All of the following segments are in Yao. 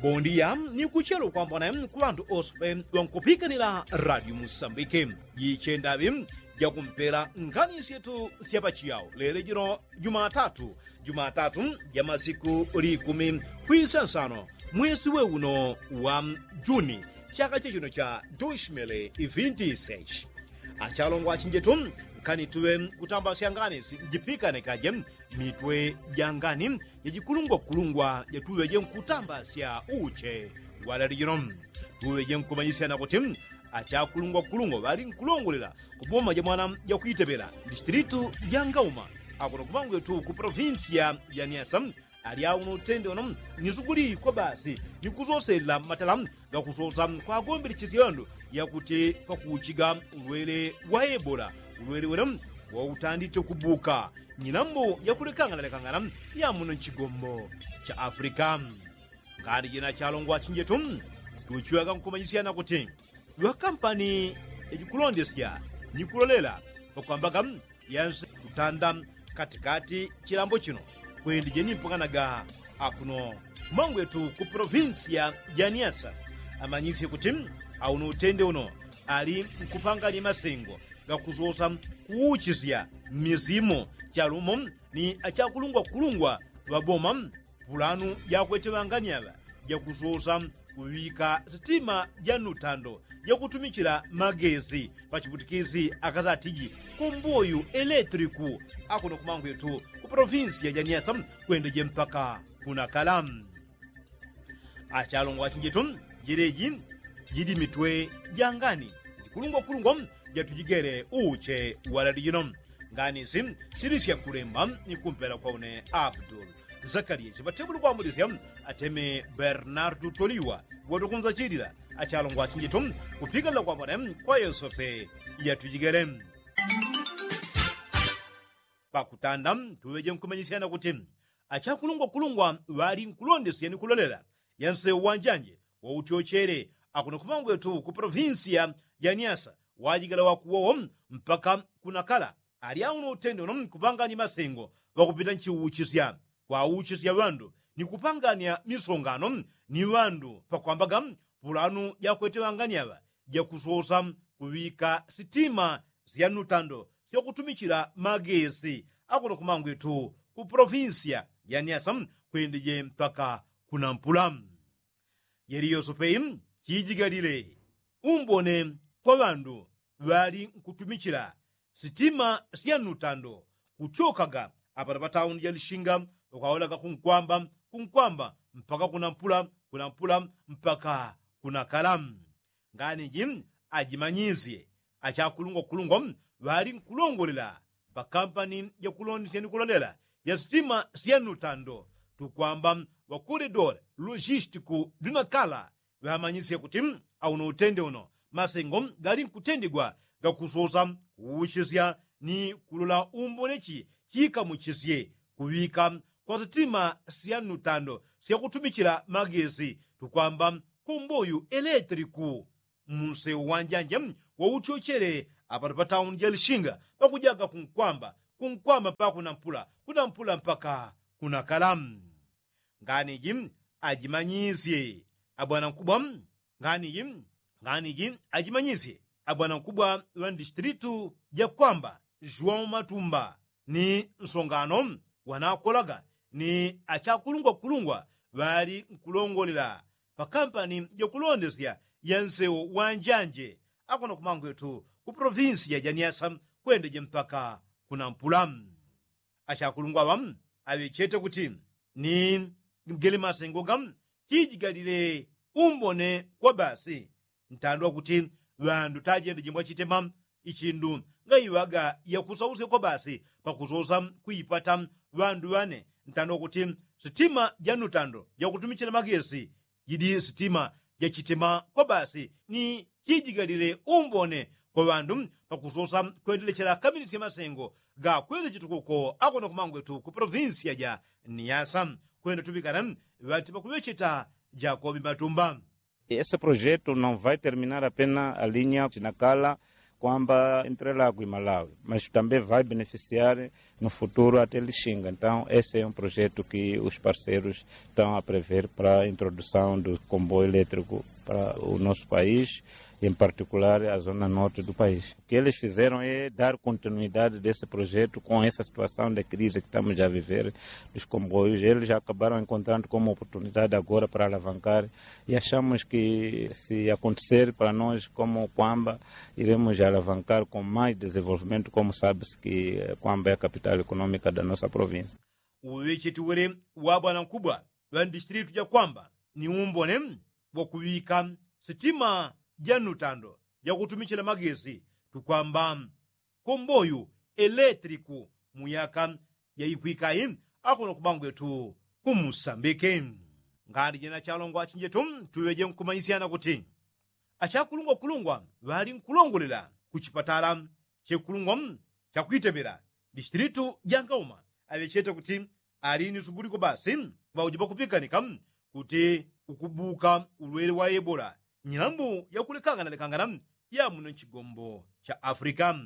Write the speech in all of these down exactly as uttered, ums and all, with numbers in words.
Bondiya ni kuchelo kwambone ku ŵandu ose ŵankupikanila radio musambike. Jichendaŵi jakumpela ngani syetu syapachiyao lele jino jumatatu, jumatatu ja masiku likumi kwisansano mwesi we uno wa juni, chaka chechino cha dushmele ivinti sechi. Achalongwa achinjetu, nkani tuŵe kutambasya ngani sijipikane kaje mitwe ja ngani jajikulungwakulungwa jatuŵeje nkutambasya uche walali jino. Tuŵeje nkumanyisyana kuti achakulungwakulungwa ŵali nkulongolela kuboma ja mwana jakwiteŵela distilitu ja ngauma akuno kumangwetu ku polovinsiya ja niasa. Alyauno utende uno ni sukuli kwa basi ni kusoselela matala gakusosa kwagombelechesyendo yakuti pakuchiga ulwele wa ebola, ulwele wele wautandite kubuka nyilambo yakulekanganalekangana ya muno nchigombo cha afrika. Ngani jina chalongwa chinjetu tuchiwaga nkumanyisyana kuti ŵakampani yajikulondesya ni kulolela pakwambaga yanse kutanda katikati chilambo chino kwendije ni mpanganaga akuno mangwetu ku polovinsiya ja niasa. Amanyisye kuti auno utende uno ali nkupanganya masengo gakusosa kuuchisya misimo chalumo ni achakulungwakulungwa ŵaboma pulanu jakwete ŵangani aŵa jakusosa kuŵika sitima ja nutando jakutumichila magesi pachiputikisi akasatiji kumbuyu eletriku akuno kumangwetu ku polovinsiya ja niasa kwendeje mpaka kunakala. Achalongwa achinjetu, jileji jili mitwe ja ngani jikulungwakulungwa jatujigele uche walali jino. Ngani isi sili syakulemba ni kumpela kwa une abdul zakaliya chipatemule kwambulisya ateme bernardu toliwa watukunzachilila. Achalongwa achinjetu, kupikanila kwambone kwa yosepe yatujigele. Pakutanda tuŵeje nkumanyisyana kuti achakulungwakulungwa ŵali nkulondesya ni kulolela yansewu wanjanje wautyochele akuno kumangwetu ku polovinsiya ja niasa wajigala wakuwowo mpaka kunakala. Alyauno utende uno nkupanganya masengo ŵakupita nchiuchisya kwauchisya ŵandu ni kupanganya misongano ni ŵandu pakwambaga pulanu jakwete ŵangani aŵa jakusosa kuŵika sitima sya nutando syakutumichila magesi akuno kumangwetu ku polovinsiya ja niasa kwendeje mpaka kunampula. Jeli yosepe chijigalile umbone kwa ŵandu ŵali nkutumichila sitima sya nutando kuchokaga apano patauni ja lishinga ukawolaga kunkwamba kunkwamba mpaka kunampula kunampula mpaka kunakala. Ngani iji ajimanyisye achakulungwakulungwa ŵali nkulongolela pakampani jakulondesya ni kulolela ya sitima sya nutando tukwamba ŵakoredore logistiku dunakala ŵamanyisye kuti auno utende uno masengo gali nkutendigwa gakusosa kuuchisya ni kulola umbone chi chikamuchisye kuŵika kwa sitima sya nutando syakutumichila magesi tukwamba kumbuyu eletriku munsewu wanjanje wautyochele apano patauni ja lishinga pakujaga kunkwamba kunkwamba mpaka kunampula kunampula mpaka kunakala. Ngani iji ajimanyisye abwanankubwa ngani iji ngani iji ajimanyisye abwanankubwa ŵa ndistilitu jakwamba juwau matumba ni nsongano wanakolaga ni achakulungwakulungwa ŵali nkulongolela pakampani jakulondesya ya nsewu wanjanje akuno kumangwetu ku polovinsiya ja niasa kwendeje mpaka kunampula. Achakulungwa aŵa aŵechete kuti ni gele masengo ga chijigalile umbone kwa basi ntandwa kuti ŵandu tajendeje mbwa chitema ichindu ngaiŵaga yakusausya kwa basi pakusosa kuipata ŵandu ŵane ntandwa kuti sitima ja nutando jakutumichila magesi jidi sitima jachitema kwa basi ni chijigalile umbone kwa ŵandu pakusosa kwendelechela kaminisya masengo gakwele chitukuko akuno kumangwetu ku polovinsiya ja niasa. Kwenda tuŵikana ŵati pakuŵecheta jakobi matumba. Ese projetu no vai terminar apena alinya chinakala kwamba entrelago i malawi mas também vai beneficiar no futuro até lixinga. Então esse é um projeto que os parceiros estão a prever para a introdução do comboio elétrico para o nosso país, em particular a zona norte do país. O que eles fizeram é dar continuidade desse projeto com essa situação de crise que estamos a viver dos comboios. Eles acabaram encontrando como oportunidade agora para alavancar e achamos que se acontecer para nós como kwamba iremos alavancar com mais desenvolvimento, como sabe-se que kwamba é a capital econômica da nossa província. Uŵecheti wele wa bwana nkubwa ŵa ndistritu ja kwamba ni umbone wa kuŵika sitima ja nutando ja kutumichila magesi tukwamba komboyu eletriku mu yaka yaikwikayi akuno kumangwetu kumusambike. Ngani jena chalongwa achinjetu tuŵeje nkumanyisyana kuti achakulungwakulungwa ŵali nkulongolela kuchipatala chekulungwa chakwitepela distritu ja ngauma aŵechete kuti ali ni suguliko basi ŵauji ŵakupikanika kuti ukubuka ulwele wa ebola nyilambu yakulekanganalekangana ya muno nchigombo cha afrika.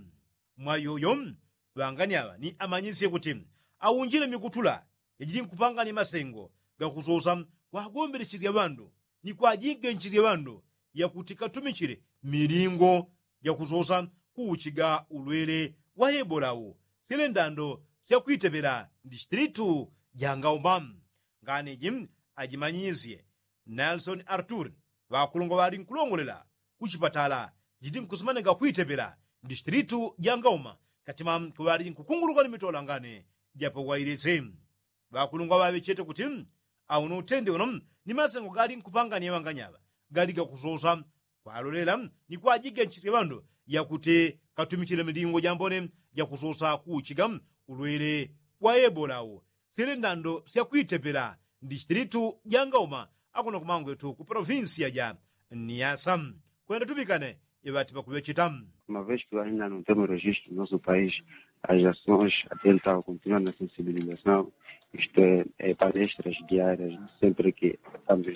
Mwayoyo ŵangani aŵa ni amanyisye kuti aunjile mikutula yajili nkupanganya masengo gakusosa kwagombelechesya ŵandu ni kwajigenchisya ŵandu yakuti katumichile milingo jakusosa kuuchiga ulwele wa ebola u syele ndando syakwitepela ndistritu ja ngauma. Ngani iji ajimanyisye nelson artur ŵakulungwa ŵali nkulongolela kuchipatala jiti nkusimanenga kwitepela ndistritu ja ngauma katima kuŵali nkukunguluka ni mitola ngani japawailise. Ŵakulungwa ŵaŵechete kuti auno utende uno ni masengo gali nkupangania ŵanganyaŵa gali gakusosa kwalolela ni kwajigenchisya ŵandu yakuti katumichile milingo jambone jakusosa kuuchiga ulwele wa ebola u syele ndando syakwitepela ndistritu ja ngauma akuno kumangwetu ku provinsia ja niasa. Kwenda tupikane iŵati ŵakuŵecheta. Uma vez que ainda não temos registro no nosso país as ações até ele estava continuando na sensibilização, isto é palestras diárias sempre que estamos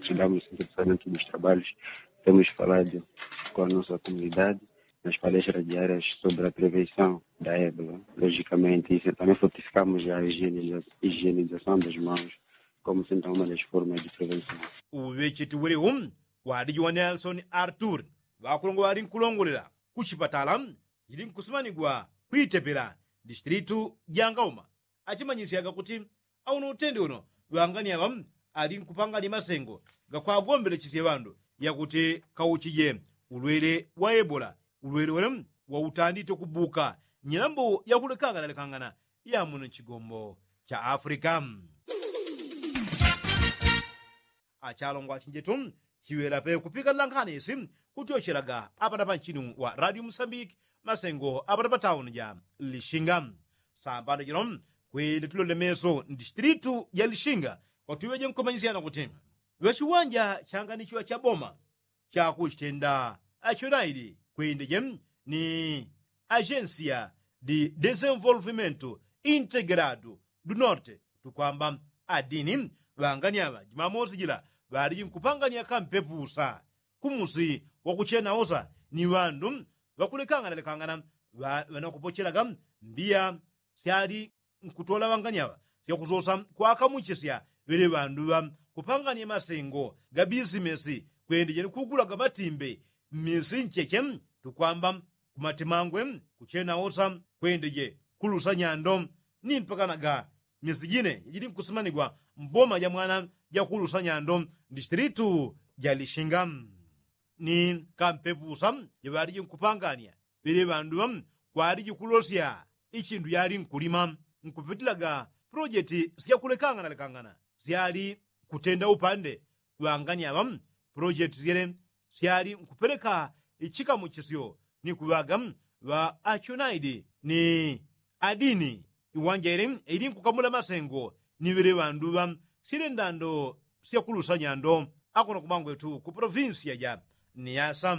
chegamos no centro dos trabalhos temos falado com a nossa comunidade nas palestras diárias sobre a prevenção da ebola. Logicamente isso também fortificamos a higienização das mãos como sendo uma das formas de prevenção. Uŵecheti welewu ŵaliji wa nelson artur ŵakulongwa ŵali nkulongolela kuchipatala jili nkusimanigwa kwitepela distritu ja ngauma achimanyisyaga kuti auno utende uno ŵangani aŵa ali nkupangania masengo gakwagombelechesye ŵandu yakuti kauchije ulwele wa ebola ulwele wele wautandite kubuka nyilambo yakulekanganalekangana ya muno nchigombo cha afrika. Achalongwa achinjetu chiŵela pe kupikanila nkhani isi kutyochelaga apana panchini wa radio musambiki masengo apana patauni ja lishinga. Sambano jino kwende tulole meso ndistritu ja lishinga kwatuŵeje nkumanyisyana kuti ŵachiwanja changanichiŵa cha boma chakuchitenda achonaili kwendeje ni agensia di desenvolvimento integrado du norte tukwamba adini ŵangani aŵa jumamosi jila ŵaliji nkupangania kampepusa kumusi wakuchenaosa ni ŵandu ŵakulekanganalekangana ŵanakupochelaga mbiya syali nkutola ŵanganyaŵa syakusosa kwakamuchisya ŵele ŵandu ŵa kupangania masengo ga bisimesi kwendeje ni kugulaga matimbe mmisi ncheche tukwamba kumatimangwe kuchenaosa kwendeje kulusa nyando ni mpakanaga misi jine jajili nkusimanigwa mboma ja mwana ja kulusa nyando ndistilitu ja lishinga ni kampepusa jaŵaliji nkupangania ŵele ŵandu ŵa kwaliji kulosya ichindu yali nkulima nkupitilaga pulojeti syakulekanganalekangana syali nkutenda upande ŵangani aŵa pulojeti syele syali nkupeleka ichikamuchisyo ni kuŵaga ŵa achunaidi ni adini iwanja ile ili nkukamula masengo ni ŵele ŵandu ŵa syele ndando syakulusa nyando akuno kumangwetu ku polovinsiya ja niyasa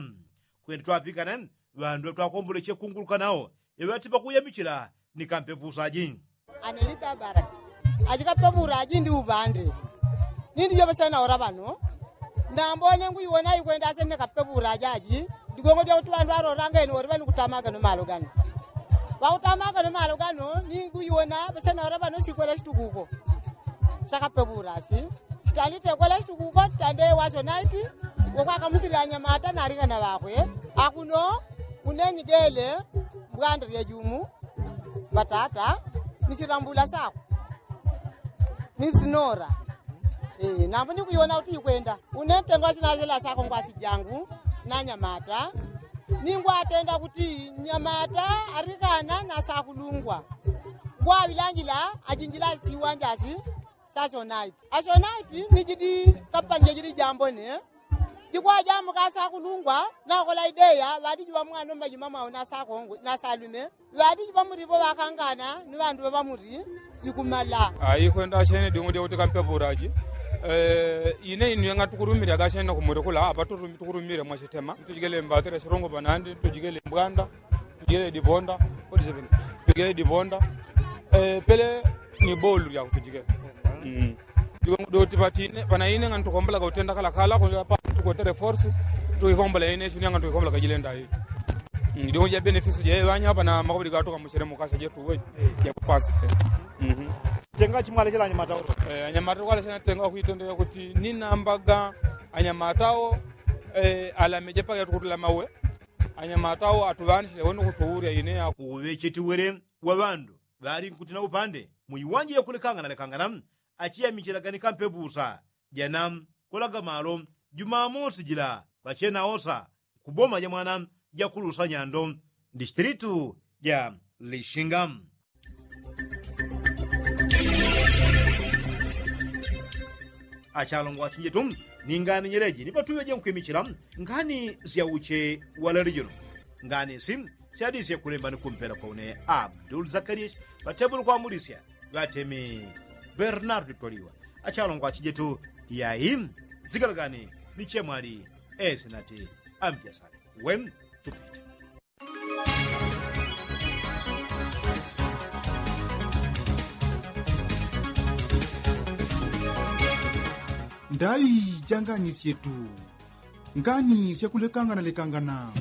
kwenda twapikana ŵandu ŵatwakomboleche kunguluka nawo iŵati pakuyamichila ni kampepusa aji. Anelita bara aji kapepura aji ndi uŵande nindi joŵesena ora ŵano ndambone nguiwona ikwenda asene kapepura aji aji. Ligongo lya kuti ŵandu ŵalolanga ino woli ŵani kutamaga no malo gano. Ŵakutamaga no malo gano ni kuiwona ŵasena wala ŵano sikwela situkuko. Sakape ŵurasi sitandite kwela situkuko titande wasyo naiti. Wokwakamusila anyamata nalikana ŵakwe akuno. Unenyi gele mbwanda lya jumu ŵatata ni silambula sako ni sinora. Nambu ni kuiwona kuti ikwenda une ntengo wasinasila sako ngwasi jangu na nyamata. Ni ngwatenda kuti nyamata alikana na sakulungwa ngwaŵilangila ajinjila siwanja si. Sasonaiti asonaiti ni jidi kapanija jidi jambone. Jikwajamuka sakulungwa nakola ideya ŵadiji ŵamwana mumajuma mwao na sakongwe na salume. Ŵadiji ŵamuripo ŵakangana ni ŵandu ŵa ŵamuri. Ikumala. Aikwenda ashene diungu dya kuti kampepuraji. Ine inu yang'atukurumile agashene nakumulekula apa tukurumile mwashitema tujikele mbatile shilungu panandi tujikele mbwanda. Tujikele diponda. Tujikele diponda. Pele ni bolu lya kutujikele. Doti panaine ng'antukombolaga utenda kalakala kuapa tukwetele force. Tuikombola ine shini ng'antuikombola kajilenda ii. Diungu dya benefisi dya ŵanya apa na makobili gatuka mushele mukasha jetu we. Dya kupasa. Tenga chimwalechela anyamata olo. Anyamata kwalechela tenga kwitendela kuti ninambaga anyamata o. Alameje paka tukutula mawe. Anyamata o atuŵanishile wene kutuulya ine ya. Uŵechetiwele wa ŵandu ŵali nkutina upande muiwanje yakulekangana lekangana. Achiyamichilaga ni kampe busa jana kulaga malo jumamosi jila ŵachena osa kuboma ja mwana ja kulusa nyando. Distilitu ja lishinga. Achalongwa chinjetu ni ngani nyeleji ni patuŵeje nkwimichila ngani sya uche wa leli juno. Ngani si syadisye kulemba ni kumpela kwa une abdul zakariya. Ŵatebulu kwamulisya ŵatemi bernardu twaliwa. Achalongwa chinjetu yai. Sigalagani ni chemwali esinati amjasani. Wen tupite. Ndai janganisye tu ngani syakulekangana lekangana.